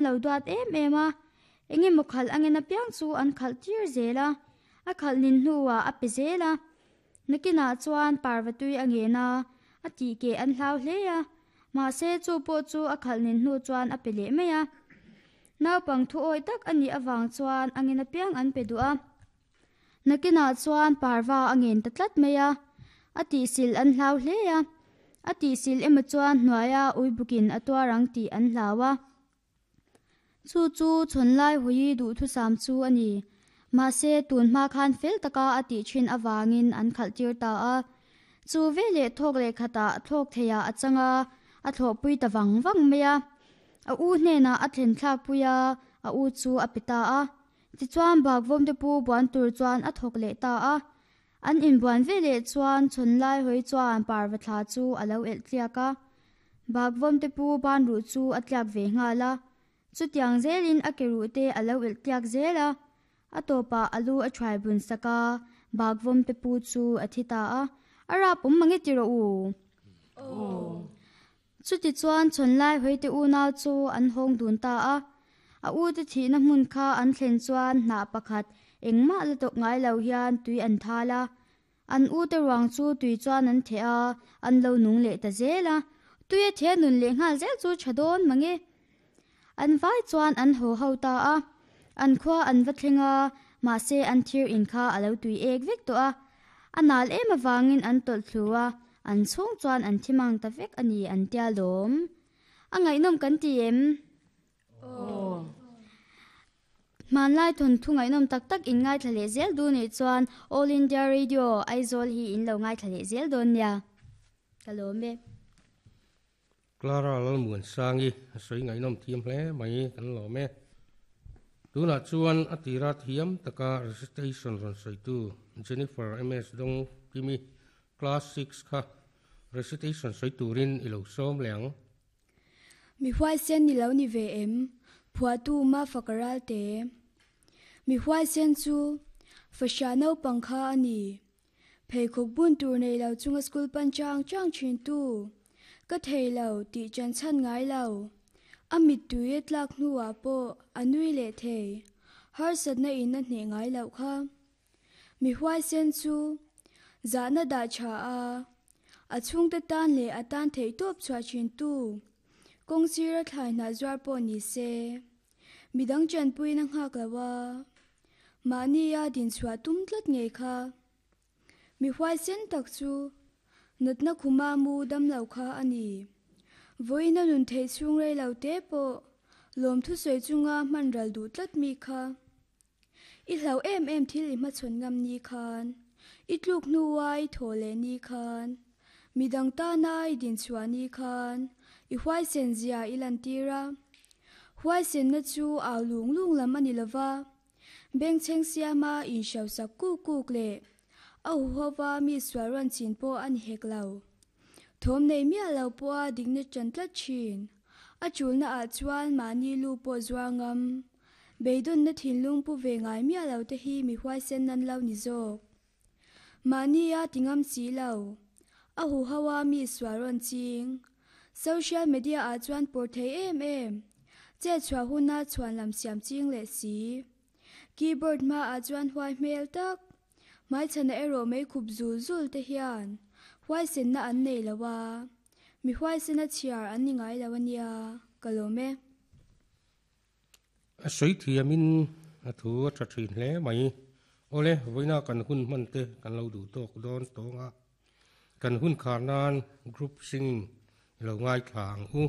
lo duat em em a, engemaw khalh angin apiang chu an khalh tir zel a, a khalh nin hnuah a pe zel a. Nakinah chuan parva tui a ngen a, a tih keh an hlau hle a, mahse chu pawh chu a khalh nin hnu chuan a pe leh mai a. Naupang thu awi tak a nih avang chuan angin apiang an pe duh a. Nakinah chuan parva a ngen ta tlat mai a, a tihsil an hlau hle a, a tihsil emaw chuan hnuaia uibukin a tuar ang tih an hlau a. Chu chu chhawnlai hawi duhthusam chu a ni. Mahse, tun hma khan fel taka a tih thin avangin an khalh tir ta a. Chu veleh thawk leh khatah thlawk theiah a chang a, a thlawhpui ta vang vang mai a. A u hnenah a thlen thlakpui a, a u chu a pe ta a. Tichuan Bakvawmte pu buan tur chuan a thawk leh ta a. An inbuan veleh chuan chhawnlai hawi chuan parva thla chu a lo elh tliak a. Bakvawmte pu ban ruh chu a tliak ve nghal a. Chutiang zelin a ke ruh te a lo elh tliak zel a. A tawpah a lu a thuai bun sak a, Bakvawmte pu chu a thi ta a. A rap awm mange ti rawh u. Chutichuan chhawnlai hawite unau chu an hawng dun ta a. A ute thihna hmun kha an thlen chuan hnah pakhat engmah la tawk ngai lo hian tui an thal a. An ute ruang chu tui chuan an theh a, an lo nung leh ta zel a. Tui a theh nun leh nghal zel chu tha dawn mange. An vai chuan an haw ho ta a. An khua an va thleng a, mahse an thir in kha a lo tui ek vek tawh a. A nal em avangin an tawlh thlu a, an chhung chuan an thi mang ta vek a ni an tia lawm. A ngaihnawm kan ti em? Aw. Hmanlai thawnthu ngaihnawm tak tak in ngaithla leh zel duh nih chuan All India Radio Aizawl hi in lo ngaithla leh zel dawn nia. Ka lawm e. Clara Lalmuansangi a sawi ngaihnawm thiam hle mai kan lawm e. Tunah chuan a tira thiam taka recitation rawn sawitu Jennifer MS Dong Kimi class six kha recitation sawi turin i lo sawm leh ang. Mi huaisen ni lo ni ve em? Phuahtu Mafak Ralte. Mi huaisen chu Fahriah naupang kha a ni. Pheikhawk bun tur nei lo chunga school pan chang chang thin tu. Ka thei lo tih chan chhan ngai lo. A mittui a tlak hnuah pawh a nui leh thei. Harsatna in a hneh ngai loh kha. Mi huaisen chu zahna dah tha a, a chhungte tan leh a tan theih tawp chhuah thin tu. Kawng sira thlai hnah zuar pawh ni se. Midang chanpuina nghak lo a, mahnia dinchhuah tum tlat ngei kha. Mi huaisen tak chu natna khuma mu dam lo kha a ni. Vawiina nun theih chhung rei lo te pawh lawmthu sawi chunga hman ral duh tlat mi kha. I hlau em em thil i hmachhawn ngam ni khan, i tluk hnua i thaw leh ni khan, midang tana i dinchhuah ni khan i huaisen zia i lantir a. Huaisenna chu au lung lung lam a ni lova, bengchheng siama inhrosak kuk kuk leh a huhova mi sual rawn chin pawh a ni hek lo. Thawm nei miah lo pawha dikna ṭan tlat ṭhin. A ṭulna ah chuan mahni lu pawh zuar ngam. Beidawnna thinlung pu ve ngai miah lo te hi mi huaisen nan lo ni zawk. Mahnia ti ngam si lo. A huho a mi sual rawn ching. Social media ah chuan pawr thei em em. Chet chhuah huna chhuan lam siam ching leh si. Keyboard hma ah chuan huai hmel tak. Hmaichhana erawh mei khup zul zul te hian huaisenna an nei lo a. Mi huaisena chhiar an ni ngai lo a nia. Ka lawm e. A sawi thiamin a thu a tha thin hle mai. Awle, vawiina kan hun hman te kan lo duh tawk dawn tawng a, kan hun khar nan group singing i lo ngaithla ang u.